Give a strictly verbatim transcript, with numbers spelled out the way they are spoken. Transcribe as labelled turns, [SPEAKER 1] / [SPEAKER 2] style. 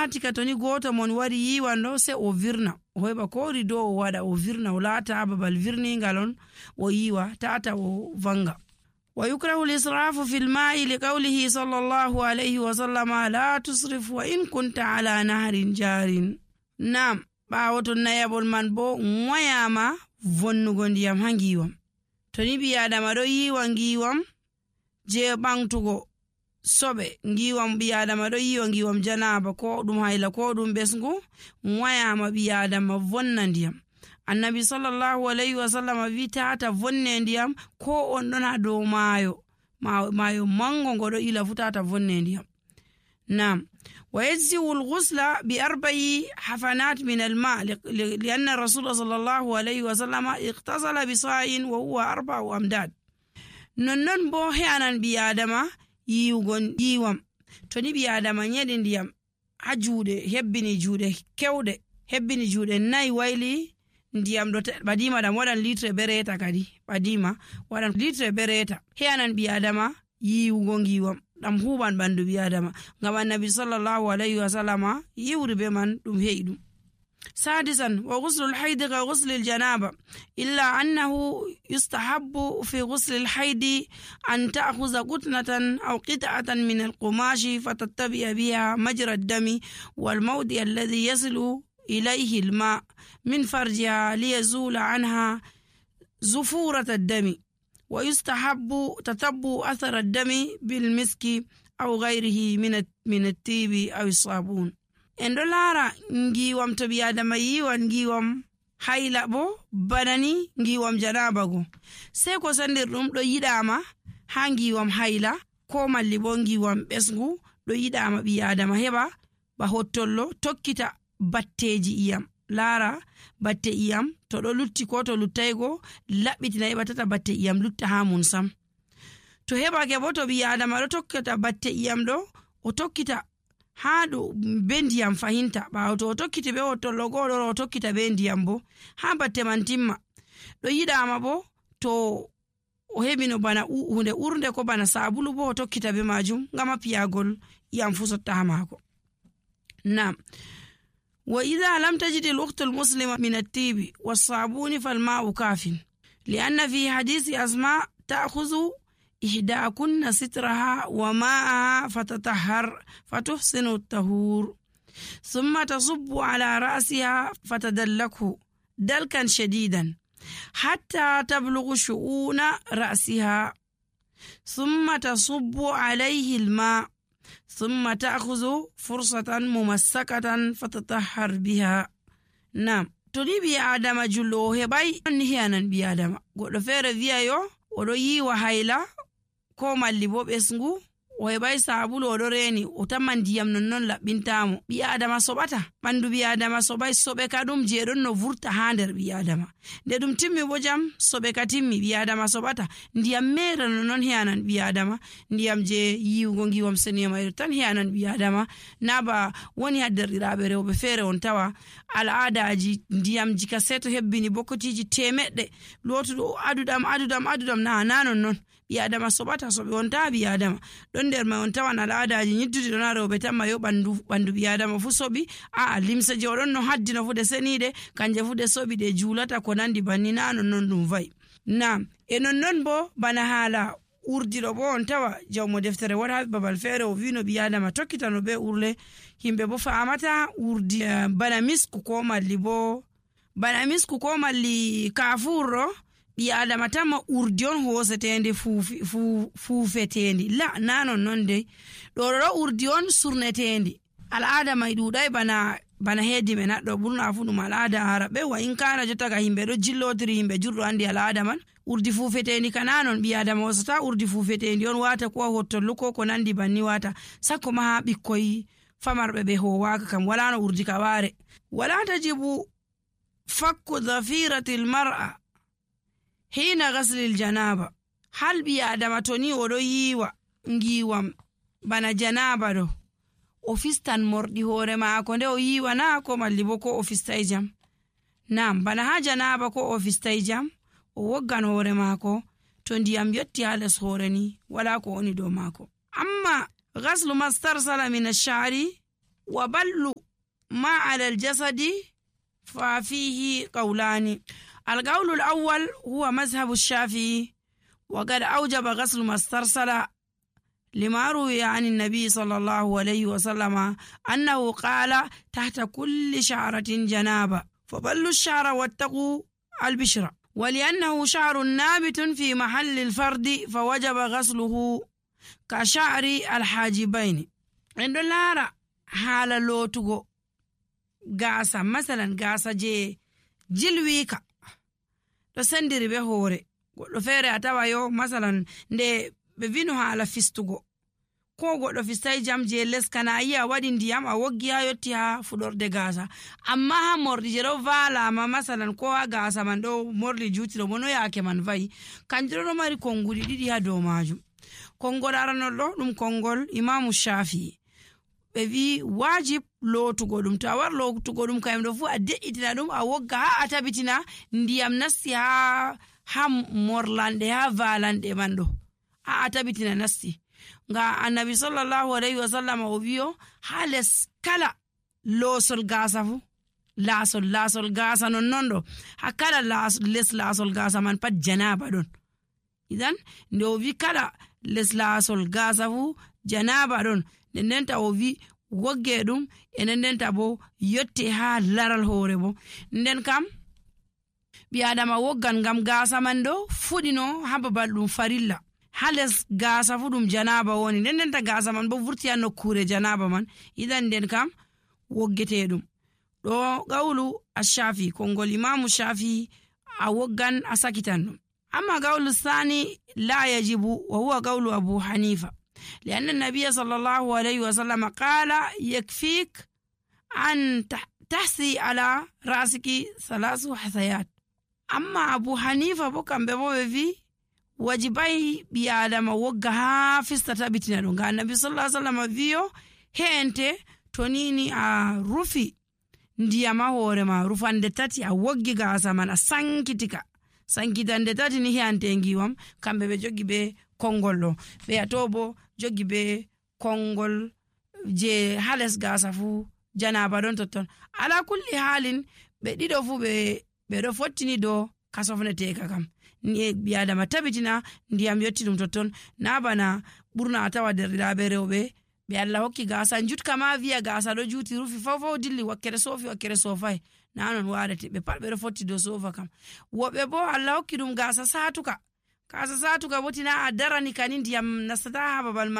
[SPEAKER 1] laati ka toni goto mon wari yiwan ɗo se o virna o heɓa ko rido o waɗa o virna o laata babal virningal on o yiwa tata o vanga. wa yukrahu lisrafu fil ma'i li qawlihi sallallahu alayhi wa sallama la tusrif wa in kunta ala nahrin jarin. Nam ɓawo to nayabol man bo wayama vonnugo ndiyam ha ngiwam. toni ɓi adama ɗo yiwa ngiwam je ɓangtugo soɓe, ngiwam ɓi adama ɗo yiwa ngiwam janaba ko ɗum hayla ko ɗum ɓesgu, wayama ɓi adama vonna ndiyam. annabi sallallahu alayhi wa sallam wi tata vonne ndiyam ko on ɗon ha dow maayo maayo mango ngo ɗo ila fu tata vonne ndiyam. nam ويجزئ الغسل بأربع حفنات من الماء لأن الرسول صلى الله عليه وسلم اغتسل بصاع وهو أربع أمداد. ننن بو هيانان بي آدما يوغون يوام توني بي آدما نيدن ديام حجودة هبني جودة كودة هبني جودة ناي ويلي ndiyam do badima dam wadan litre bereta kadi badima wadan litre bereta heyanan bi adama yiwugo ngiwam dam huban bandu bi adama ngam annabi sallallahu alayhi wa sallama yiwri be man dum heydum. sadisan wa ghusl al-hayd ka ghusl al-janaba illa annahu yustahabbu fi ghusl al-hayd an ta'khudha qutnatan aw qit'atan min al-qumash fatattabi'a biha majra ad-dami wal mawdi alladhi yasilu إليه الماء من فرجها ليزول عنها زفورة الدم. ويستحب تتبع أثر الدم بالمسك أو غيره من من الطيب أو الصابون. إن دولارا نجيوام تبي آدم يوان نجيوام hayla bo banani ngiwam janabago sai ko sandir dum do yidama ha ngiwam hayla ko malli bo ngiwam besgu do yidama bi adama heba ba hottollo tokkita batteji iyam lara batte iyam to do lutti ko to luttaygo labbitina heba tata batte iyam lutta ha mun sam to heba ke bo to bi adama do tokkita batte iyam do o tokkita ha do bendiyam fahinta ba to o tokkiti be o to logo do o tokkita bendiyam bo ha batte man timma do yidama bo to o hebino bana hunde urde ko bana sabulu bo o tokkita be majum ngama piyagol iyam fu sotta ha mako. Naam. وإذا لم تجد الأخت المسلمة من الطيب والصابون فالماء كاف لأن في حديث أسماء تأخذ إحداكن سترها وماءها فتطهر فتحسن الطهور ثم تصب على رأسها فتدلكه دلكا شديدا حتى تبلغ شؤون رأسها ثم تصب عليه الماء ثم تأخذ فرصة ممسكة فتطهر بها. نعم تولي بي آدم جلو هباي نهيانا بي آدم قد فير فيايو ودو وحيلا كوما اللي بوب اسنغو وهباي سابولو ودو ريني وتمن ديام ننون لبنتامو بي آدم صباتا بندو بي آدم صباي صبكا دوم جيرون نو فورتا هاندر بي آدم دي دوم تيمي بوجام صبكا تيمي بي آدم صباتا ndiyam mere non hianan bi adama ndiyam je yiwgo ngiwam seniyama tan hianan bi adama naba woni haddirirabe rewbe fere on tawa alaadaaji ndiyam jika seto hebbini bokotiji temedde lotudo adudam adudam adudam na nanon non bi adama sobata sobe on ta bi adama don der ma on tawa alaadaaji nyiddude don rewbe tamma yo bandu bandu bi adama fu sobi a limsa je odon no haddino fu de senide kanje fu de sobi de julata ko nandi banni nanon non dum vai. Naam e non non bo bana hala urdiro bo on tawa jawmo deftere wada babal fere o vino bi adama tokkitano be urle himbe bo faamata urdi uh, bana misku ko malli bo bana misku ko malli kafuro bi adama tamma urdi on hosetende fufi fu fufetendi la nanon non de do do urdi on surnetendi al adama idudai bana bana hedi men addo burna fu dum alada arabe wa in kana jotaga himbe do jillotiri himbe jurdo andi alada man urdi fufetendi kananon bi adama wasata urdi fufetendi on wata ko hottollo ko ko nandi banni wata sakko ma bikkoy famarbe be ho waka kam wala no urdi ka ware wala tajibu fakku dhafirati almar'a hina ghasl aljanaba hal bi adama toni odo yiwa ngiwam bana janaba do ofistan mordi hore maako nde o yiwa na ko malli bo ko ofistay jam. Naam bana ha janaba ko ofistay jam o woggan hore maako to ndiyam yotti ha les hore ni wala ko oni do maako. Amma ghaslu mastarsala min ash-sha'ri wa ballu ما على الجسد ففيه قولان. القول الأول هو مذهب الشافعي، وقد أوجب غسل ما استرسل لما روي عن النبي صلى الله عليه وسلم أنه قال تحت كل شعرة جنابة فبلوا الشعر واتقوا البشرة، ولأنه شعر نابت في محل الفرد فوجب غسله كشعر الحاجبين. عند لارا حال لوتغو غاسا مثلا غاسا جي جلويكا to sendiri be hoore goɗɗo feere a tawa yo masalan nde ɓe vino haala fistugo ko goɗɗo fistai jam je les kana yi a waɗi ndiyam a woggi ha yotti ha fuɗorde gaasa, amma ha morɗi je ɗo valama masalan ko ha gaasa man ɗo morli jutiro mo no yaake man vayi kanjum ɗo mari konnguli ɗiɗi ha dow majum. Konngol aranol ɗo ɗum konngol imamu Shafi'i, ɓe wi wajib lootugo ɗum, to a war lootugo ɗum kayum ɗo fu a de'itina ɗum a wogga ha a tabitina ndiyam nasti ha ha morlanɗe ha valanɗe man ɗo ha a tabitina nasti. Nga annabi sallallahu alaihi wasallam o wiyo ha les kala loosol gaasa fu laasol laasol gaasa non non ɗo ha kala les laasol gaasa man pat janaba ɗon. Idan nde o wi kala les laasol gaasa fu janaba ɗon, nden ndenta o wi wogge ɗum enen ndenta bo yotte ha laral hoore bo. Nden kam ɓi adama woggan ngam gaasa man ɗo fuɗino ha babal ɗum farilla, ha les gaasa fu ɗum janaba woni, nden ndenta gaasa man bo vurti ha nokkure janaba man. Idan nden kam woggete ɗum ɗo gawlu ash-Shafi, konngol imamu Shafi a woggan a sakitan ɗum. Amma gawlu sani la yajibu wa huwa gawlu Abu Hanifa, لأن النبي صلى الله عليه وسلم قال يكفيك أن تحسي على رأسك ثلاث حثيات. أما أبو حنيفة بكم بمو في wajibai bi adama wogga ha fistata bitina ɗum. Ga annabi sallallahu alaihi wasallam wiyo heente to nini a rufi ndiyama hoore ma rufande tati a woggi gaasa man a sankitika sankitande tati ni heante ngiwam kamɓe ɓe jogi be konngol ɗo, ɓe ato bo jogi be konngol je hales gaasa fu janaba ɗon totton. Ala kulli halin ɓe ɗiɗo fu ɓe ɓeɗo fottini do kasofneteka kam ni ɓi adama tabitina ndiyam yotti ɗum totton, na bana ɓurna a tawa derɗiraɓe rewɓe ɓe Allah hokki gaasa jutka ma wiya gaasa ɗo juti rufi fawfaw dilli wakkere sofi wakkere sofai, na non waɗete ɓe pat ɓeɗo fotti do sofa kam. Woɓɓe bo Allah hokki ɗum gaasa satuka, gaasa satuka botina a darani kani ndiyam nastata ha babal ma